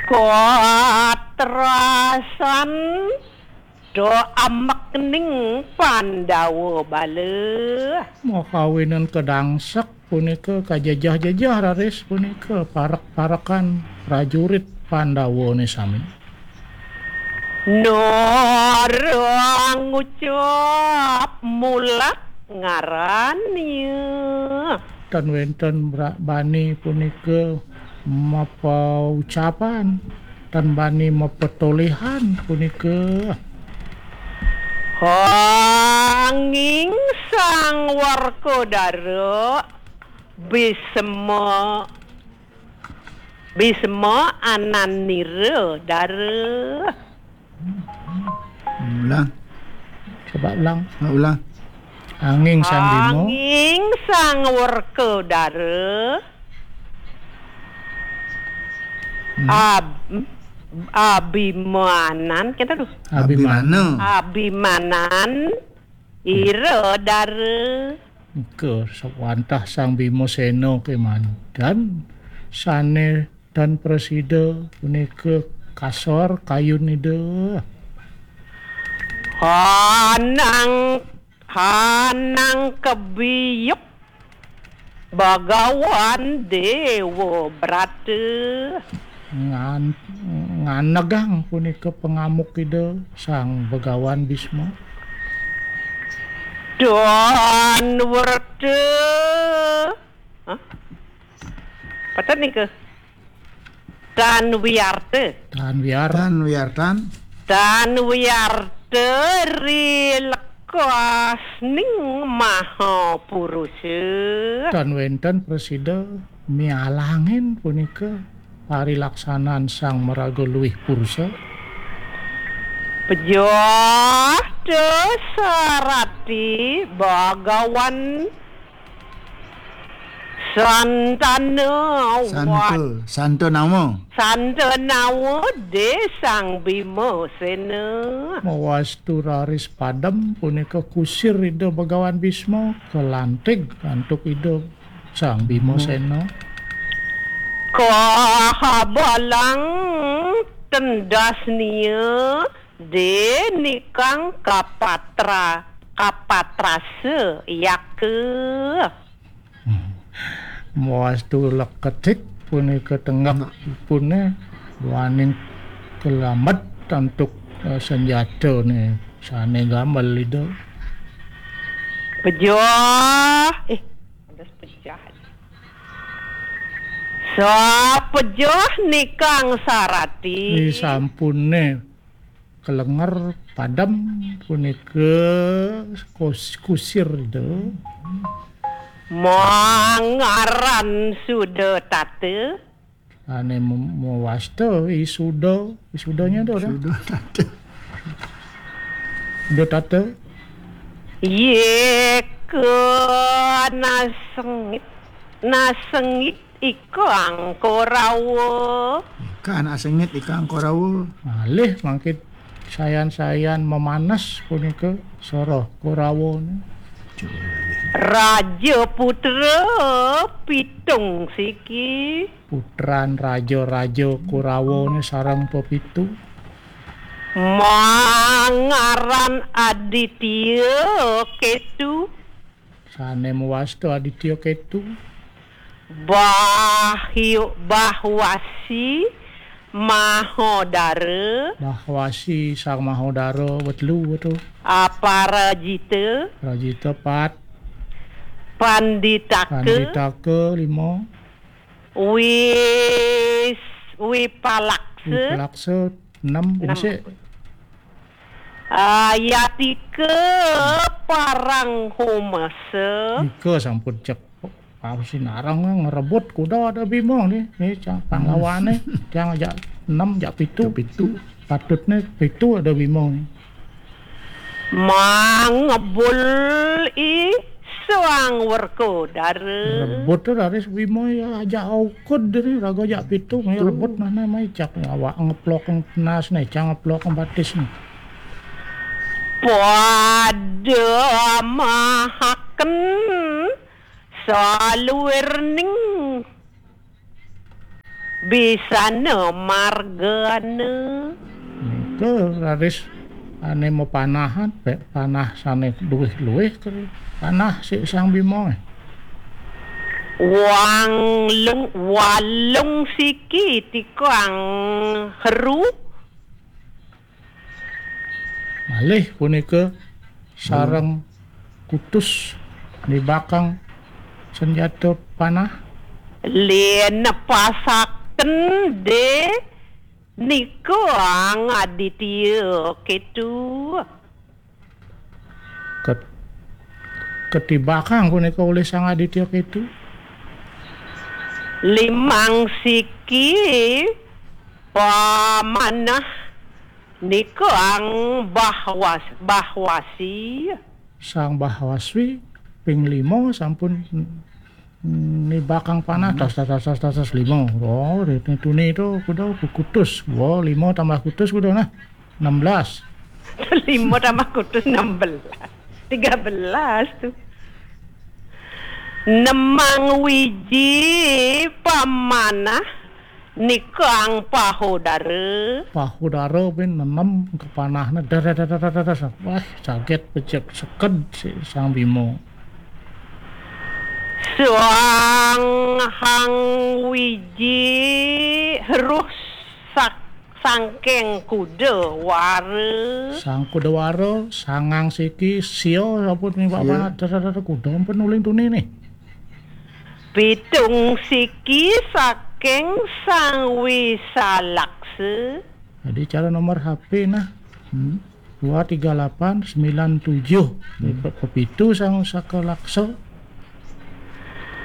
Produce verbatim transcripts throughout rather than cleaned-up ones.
Katrasan do amekning Pandawa bala. Makawinan kedangsek punika kajejeh-jejeh raris punika parek-parekan prajurit Pandawane sami. Nora ngucap mulat ngarannya. Tan wenten bra-, bani punika mapaucapan, tan bani mapetolihan punika. Anging Sang Werkudara Bisma, Bisma Ananira Dara. Ulang. Coba ulang. Ah, ulang. Anging Sang Bima. Anging Sang Werkudara. Hmm. Ab-, Abimanan, kita tuh. Abimana. Abimanan. Ira Dara. Nika sawantah Sang Bima Sena kemanten sane tan prasida punika kasor kayun Ida. Hanang, hanang kebiyuk Bagawan Dewa Brata. Ngan-, nganegang punika pangamuk Ida Sang Bagawan Bisma. Don Werta. Hah? Patan nika. Tan Wiarta. Tan Wiar. Tan Wiartan. Tan Wiarta ri lekasning Maha Purusa. Tan wenten prasida mialangin punika parilaksanan Sang Maraga Luih Purusa. Pejah Dasarati Bagawan Santana Santa, wat-, Santanawa. Santanawa de Sang Bima Sena. Mawastu raris padem punika kusir Ida Bagawan Bisma, kalantig antuk Ida Sang Bima Sena. Kahabalang tendasnia de nikang kapatra, kapatrasa yaka. Hmm. Mawastu leketik punika tenggek ipune duaning kelamet antuk, eh, senjatane sane gamel Ida. Pejah. Eh, ada pejah. Sapejah nikang sarati. Ri sampune kalenger padem punika kus-, kusir Ida. Mangaran Suda Tata. Ane mem-, mewasta I Suda, I Sudanya tu dah. Suda Tata. Suda Tata. Yeka nasengit, nasengit ikang Korawa. Ika anak sengit ikang Korawa. Malih mangkin sayan-sayan memanas punika soroh Korawa ni. Raja putra pitung siki. Putran raja-raja Korawa ni sareng pepitu. Mangaran Aditya Ketu. Sane mewasta Aditya Ketu. Bahyu-, Bahwasi Mahodara. Bahwasi Sang Mahodara, wetelu tu. Aparajita. Parajita, pat. Panditaka. Panditaka, lima. Wis-, Wipalaksa. Wipalaksa, enam. Enam. Sik. Ayatika parang humasa. Nika sampun cek. Pau sinarang ngrebut kuda ada Bima ni. Ni cang panglawane. Cang ajak enam, ajak pitu. Ajak pitu. Patutne pitu ada Bima ni. Mangebul I Sang Werkudara. Rebut tu raris Bima ya ajak aukud ni, raga ajak pitu, mai rebut nah, nah, mai cak awak ngeplok penas ni, cang ngeplok batis ni. Pada mahaken saluirning Bisana margana. Nika raris ané mapanahan, pék panah sané luwih-luwih ka panah si Sang Bima. Walung, walung siki tikang heru. Malih punika sareng kutus nibakang senjata panah. Lén nepasaken dé nika Aditya Ketu. Ket-, ketibakang punika olih Sang Aditya Ketu. Limang siki pamanah nika ang bahwas-, bahwasi. Sang Bahwaswi ping lima sampun nibakang panah, tas, tas, tas, tas, tas, tas, lima. Oh, tuni itu kuda kutus. Wah, lima tambah kutus kuda nah. Enam belas. Lima tambah kutus enam belas. Tiga belas tuh. Nemang wiji pamanah nikang pahodara. Pahodara pin nenem kepanahna. Dar, dar, dar, dar, dar, dar. Wah, saget pecek seked si Sang Bima. Suang hang wiji heruh sak-, sangking kuda wara. Sang kuda wara, sangang siki, sia sampun nibak panah. Dar, dar, dar, kuda ampun uling tuni nih. Pitung siki saking Sang Wisalaksa. Jadi cara nomor H P nah. Hmm. Dua tiga lapan sembilan tujuh. Hmm. Pe-, pepitu Sang Saka Laksa.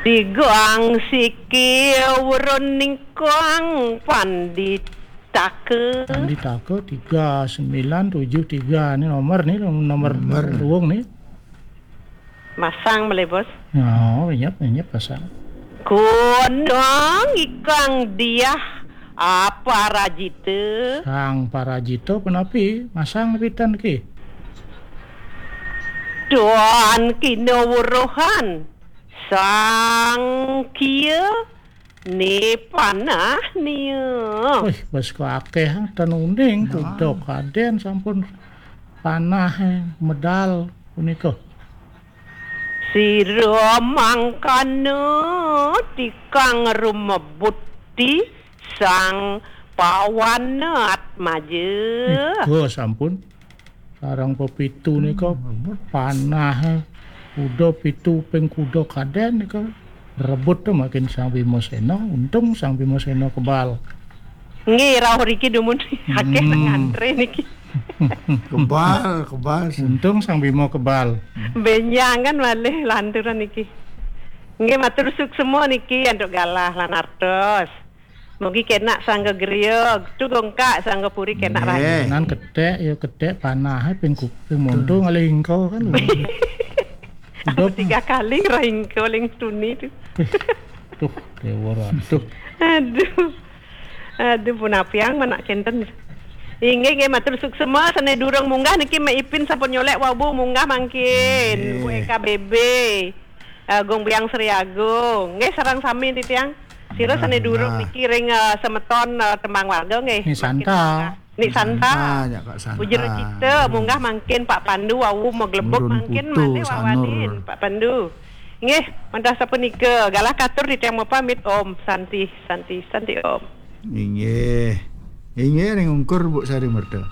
Tigang siki werningkang Panditaka. Panditaka tiga sembilan tujuh tiga. Ini nomor nih, nomor Nomor. Ruwung nih. Masang malih, Bos. Oh, inyep, inyep pasang. Gunung ikang diah aparajita. Sang Parajita punapi masang pitan ki. Tuan kinawruhan Sang Kia ni panah nia. Wih, bas ko akeh tenuning. Nah. Kuda kadén sampun panah, eh, medal punika. Sira mangkana tikang rumebuti Sang Pawana Atmaja. Nika sampun. Sareng pepitu nika panah, eh, kuda pitu ping kuda kadén nika rebut to makin Sang Bimasena, untung Sang Bimasena kebal. Nggih, rauh riki dumun akeh nang ngantre niki. Kebal, kebal. Untung Sang Bima kebal. Benjangan malih lanturan niki. Nggih, matur suksema niki antuk galah lan artos. Mugi kenak sangga griya, tu gongkak sangga puri kenak rahayu. Nan ketek, ya ketek panah, eh, ping ku-, ping monto ngalih ingko kan. Udah tiga kali ngerah ingko ling tuni tu. Tuh, dewa ratu. Aduh. Aduh, punapiang manak kenten. Inggih, nggih, matur suksema, sane durung munggah niki Mek Ipin sampun nyolek wau munggah mangkin. Nggih. Bu E K B B. Eh, Gung Biang Sri Agung. Nggih, sareng sami titiang. Sira sane durung niki ring, eh, semeton, eh, tembang warga nggih. Ni Santa. Ni Santa. Santa, ya, Kak Santa. Puja kita munggah mangkin Pak Pandu wau maglebok mangkin malih wawanin Pak Pandu. Nggih, mandah sapunika galah katur titiang mapamit. Om Santi, Santi, Santi Om. Inggih. Inggih ring ungkur Bu Sari Merta.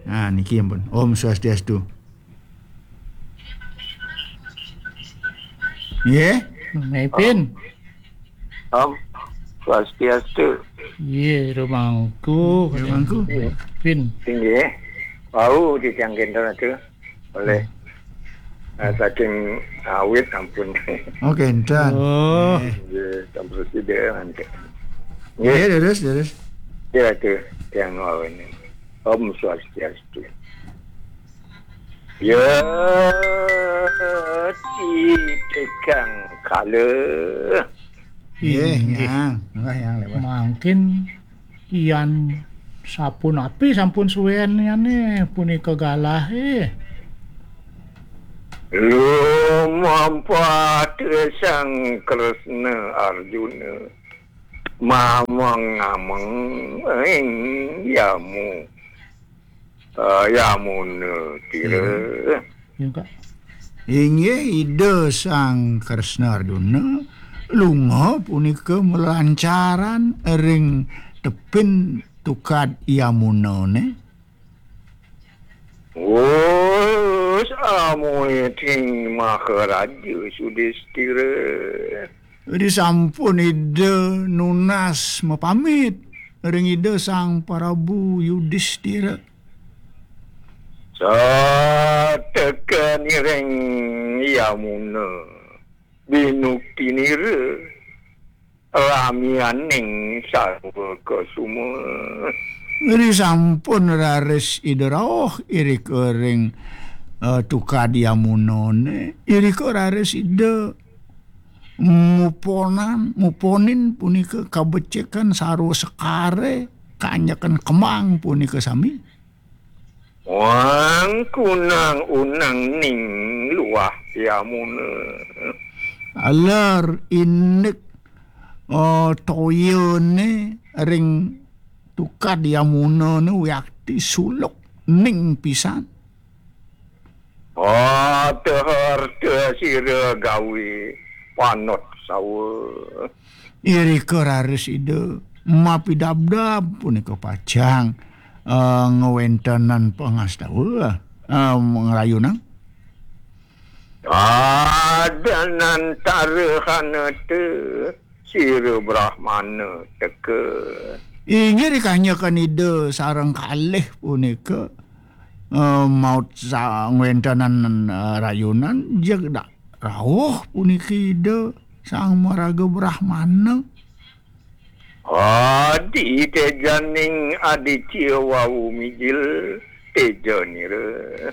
Nah, niki ampun. Om Swastiastu. Nggih. Mepin. Om Swastiastu. Nggih, rumangku. Rumangku. Pin. Inggih. Wau titiang kenten atu oleh, eh, saking awit ampun. Oh, kenten. Oh. Nggih, sampun sida mangke. Nggih, terus, terus. Ya, atu tiang wau ini. Om Swastiastu. Ya, ti tegang kala. Nggih, inggih. Yang. Enggak, yang lewat. Mangkin yan sapunapi sampun suwen yane punika galahe. Lumampat Sang Kresna Arjuna. Mameng-ameng ing yamu, eh, yamuna tira. Iya. Iya, Kak. Inggih Ida Sang Kresna Arjuna lunga punika malancaran ring tepin tukad yamunane. Wus amuiting Maharaja Sudistira. Risampun Ida nunas mapamit ring Ida Sang Prabu Yudistira. Sateka niring yamuna binuktinira ramianing sarwa kasuma. Risampun raris Ida rauh irika ring, eh, tukad yamunane, irika raris Ida muponan, muponin punika kabecikan sarwa sekare, kanyekan kemang punika sami. Wang kunang unang ning luah yamuna. Aler indik, eh, toyane ring tukad yamunane wiakti suluk ning pisan. Harta-harta sira gawe panot sawa. Irika raris Ida mapidabdab punika pacang, eh, ngwentenan pangastawa, eh, ngrayunang. Adanantara hanata sira Brahmana teka. Inggih rikanyekan Ida sareng kalih punika, eh, maut sa-, ngwentenan, eh, rayunan, jeg dak rauh puniki Ida Sang Maraga Brahmana. Adi tejaning aditya wau mijil tejanira.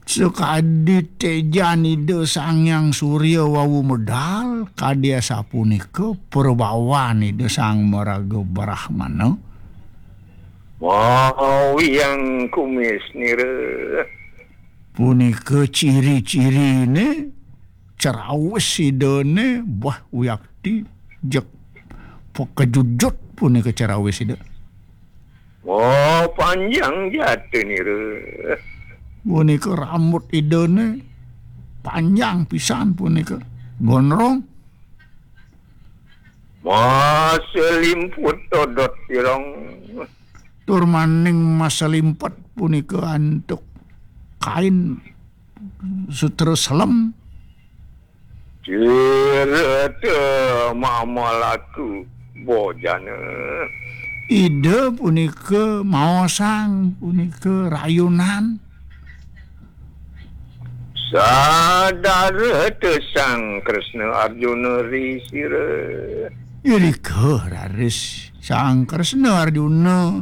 Sakadi tejan Ida Sang Hyang Surya wau medal, kadi asapunika prabawan Ida Sang Maraga Brahmana. Mawiyang kumisnira. Punika ciri-cirine cerawis Idane, bah wiakti jeg pakejujut punika cerawis Ida. Oh, panjang jatinira. Punika rambut Idane panjang pisan punika. Gondrong. Maselimput dodot irong. Tur maning maselimpet punika antuk kain sutra selem. Cirata mamalaku bojana. Ida punika maosang punika rayunan. Sadara te Sang Kresna Arjuna risira. Irika raris Sang Kresna Arjuna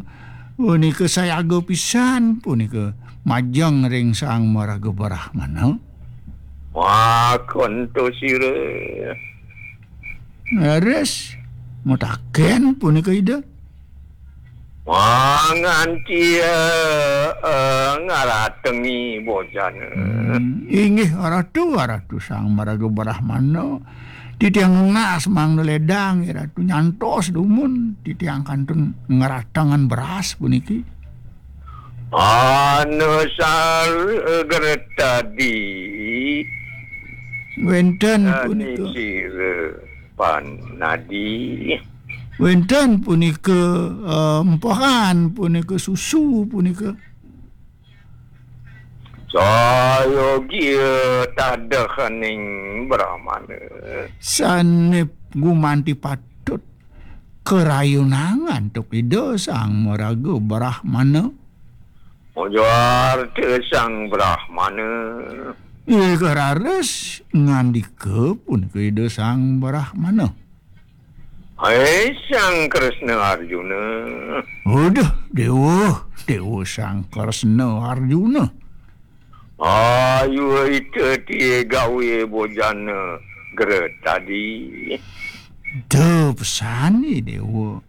punika sayaga pisan punika majeng ring Sang Maraga Brahmana. Makonto sira. Leres mataken punika Ida. Manganti, eh, eh, ngaratengi bojana. Hmm, inggih Ratu, Ratu Sang Maraga Brahmana. Titiang nunas mangda ledang, Ratu nyantos dumun, titiang kantun ngeratengan beras puniki. Anu sal gertadi. Wenten punika. Sira panadi. Wenten punika, eh, empehan punika, susu punika. Sayogia tadehaning Brahmana. Sane gumanti patut karayunang antuk Ida Sang Maraga Brahmana. Mojo arta Sang Brahmana. Ika raris ngandika punika Ida Sang Brahmana. Hai Sang Kresna Arjuna. Uduh, Dewa, Dewa Sang Kresna Arjuna. Ayu ita tie gawe bojana gera tadi. Duh, pesan ni Dewa.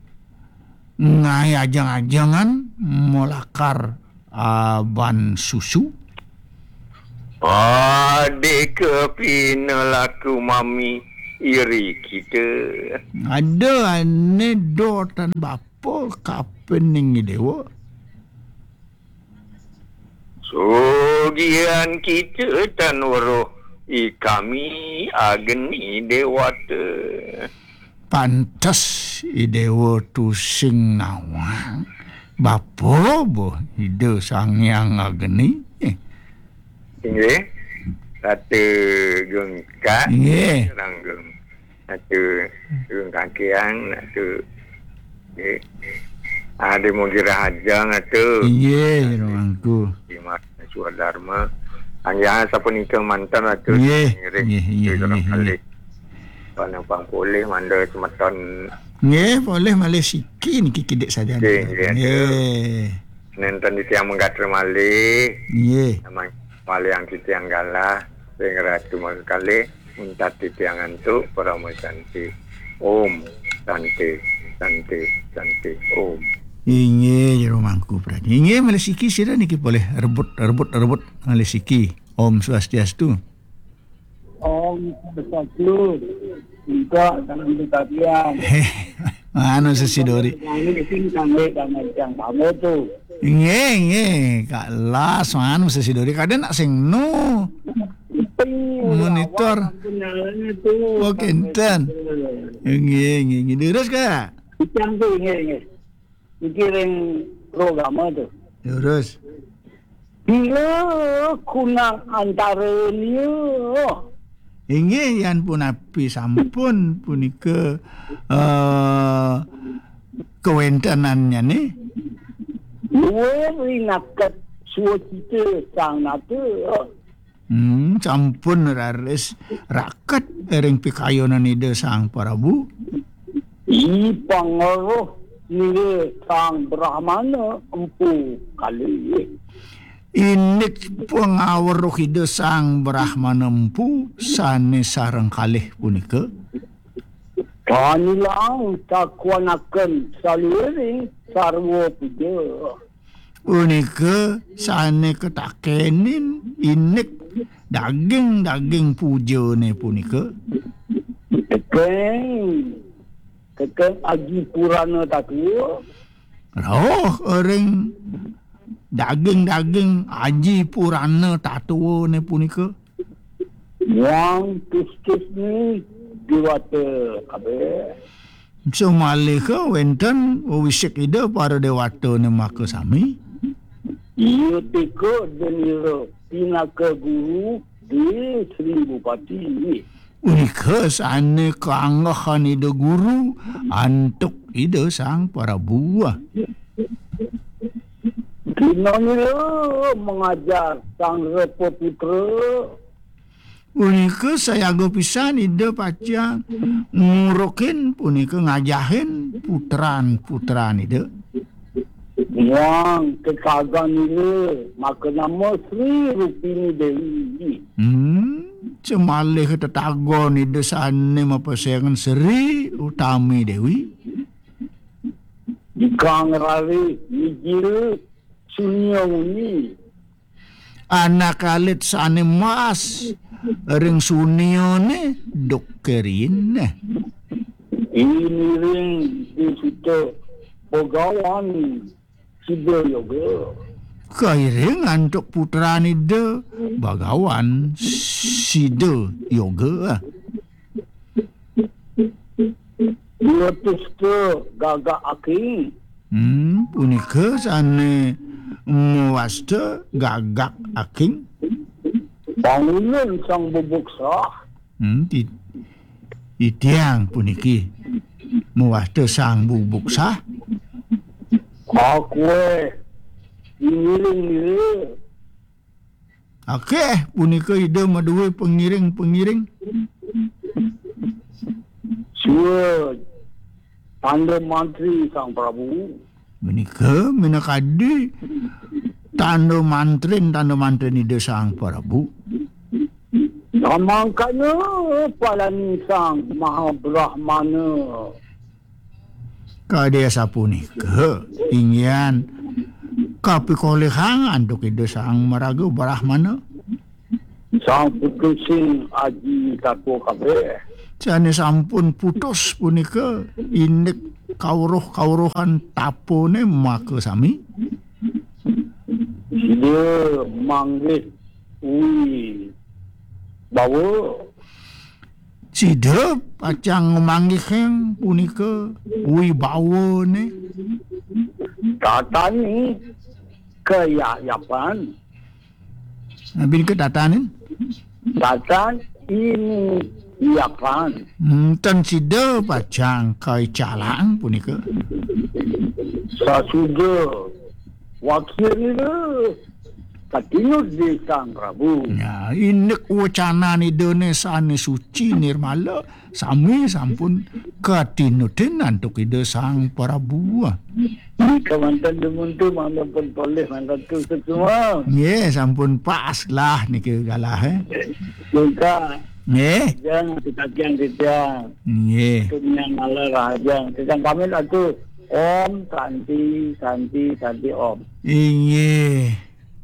Ngae ajeng-ajengan molakar aban susu. Adika pinelaku mami iri kita. Ada ane do tan bapa kapining i dewa. Sugihan kita tan weruh i kami agni dewata. Pantes i dewa tusing nawang bapa boh Ida Sang Hyang Agni. Eh. Inggih. Ratu Gungkat. Inggih. Ranggung. Ratu Gungkakian, Ratu. Inggih. Adi Mugi Rahajang, Ratu. Inggih, Ratu Mangku. Dimas Swadharma. Anggih sapunika manten, Ratu. Inggih, Ngiring. Inggih, inggih, Ratu inggih, Rangkali. Inggih. Panempang polih manda semeton. Nggih, polih malih siki niki kidik saja. Nggih, nggih, Ratu. Nggih. Nenten di tiang menggatra malih. Nggih. Namanya malih yang titiang galah, ring Ratu Mangkali, untat titiang antuk, Parama Santi. Om Santi, Santi, Santi, Om. Inggih, Jero Mangku Pradi. Inggih, malih siki sira niki polih rebut, rebut, rebut malih siki. Om Swastiastu. Om Swastiastu. Minta salam kebahagiaan. Anu sesidori. Kami di sini kami dan yang kamu tu. Nggih, nggih. Kak Las, anu sesidori. Kada nak sing nu. Monitor. Oh, kinten. Nggih, nggih, nggih. Terus, Kak? Yang tu, nggih, nggih. Iki ring programa tu. Terus. Bila kunang antara nia. Inggih, yan punapi sampun punika, eh, kawentenannya nih. Luwih rinaket suwacita sang nata. Hmm, sampun raris raket ring pikayunan Ida Sang Prabu. I pangaruh nira Sang Brahmana empu kalih. Indik pangaruh Ida Sang Brahmana empu sane sareng kalih punika. Tanilang takwanaken saluiring sarwa puja. Punika sane katakenin indik daging-daging pujane punika. Tekeng, tekeng Aji Purana Tatua. Rauh ring daging-daging Aji Purana Tatuane punika. Muang tustusne dewata kabeh. Samaliha wenten wiwisik Ida para dewatane makasami. Iya teka denira pinaka guru di Sri Bupati. Punika sane kaanggehan Ida guru antuk Ida Sang Prabu. Kinanira mengajar Sang Repa Putra. Punika sayaga pisan Ida pacang ngurukin punika ngajahin putran-putran Ida. Muang kekagan Ida maka nama Sri Rupini Dewi. Hmm, semalih tetagon Ida sane mapesengan Sri Utami Dewi. Ikang rari mijil sunia nguni. Anak alit sane mas ring suniane duk kerin. Iniring disuta Bagawan Sida Yoga. Kairing antuk putran Ida Bagawan Sida Yoga. Mawasta gagak aking. Hmm, punika sane mawasta gagak aking. Pangulun Sang Bubuk Sah. Hmm, ti-, titiang puniki mawasta Sang Bubuk Sah. Akeh ngiring-ngiring. Akeh punika Ida madue pengiring-pengiring. Sua tanda mantri Sang Prabu. Menika minakadi tanda mantrin, tanda mantrin Ida Sang Prabu. Samangkana palani Sang Maha Brahmana. Kadi asapunika, inggihan kapikolihang antuk Ida Sang Maraga Brahmana. Sang Putu sing aji tatua kabeh. Sané sampun putus punika indik kawruh-kawruhan tapané makasami. Sida manggih wibawa. Sida pacang manggihing punika wibawané. Tatani kayayapan. Napi nika tatanin? Tatan ini yapan. Hmm, ten sida pacang kaicalang punika. Sasuda wakil ira katinud di Sang Prabu. Ya, indik wacanan Idané sané suci nirmala, sami sampun katinudin antuk Ida Sang Prabu. Kamanten dumun tu mangda pun polih mangda tu semua. Nggih, sampun pas lah niki galah, eh. Juga. Nggih. Jang titiang titiang. Nggih. Tunyang malah rahajang. Titiang pamit atuh. Om Santi, Santi, Santi Om. Inggih.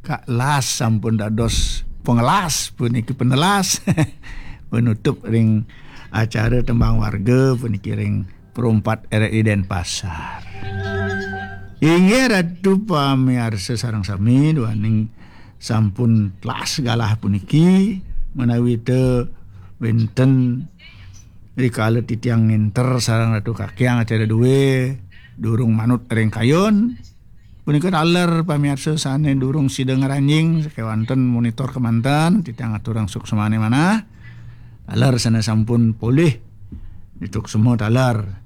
Kak Las sampun dados pengelas puniki penelas. Penutup ring acara tembang warga puniki ring Perumpat R R I Denpasar. Inggih Ratu pamiarsa sareng sami, duaning sampun telas galah puniki, menawi te wenten rikala titiang ngenter sareng Ratu Kakiang acara due durung manut ring kayun. Punika taler pamiarsa sané durung sida ngranjing sakéwanten monitor kemanten, titiang aturang suksmané manah. Taler sané sampun polih dituksma taler.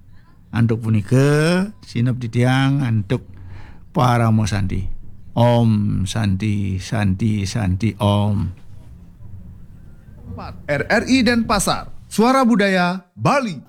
Antuk punika, sineb titiang antuk Parama Santi. Om Santi, Santi, Santi, Om. Empat, R R I Denpasar, Suara Budaya Bali.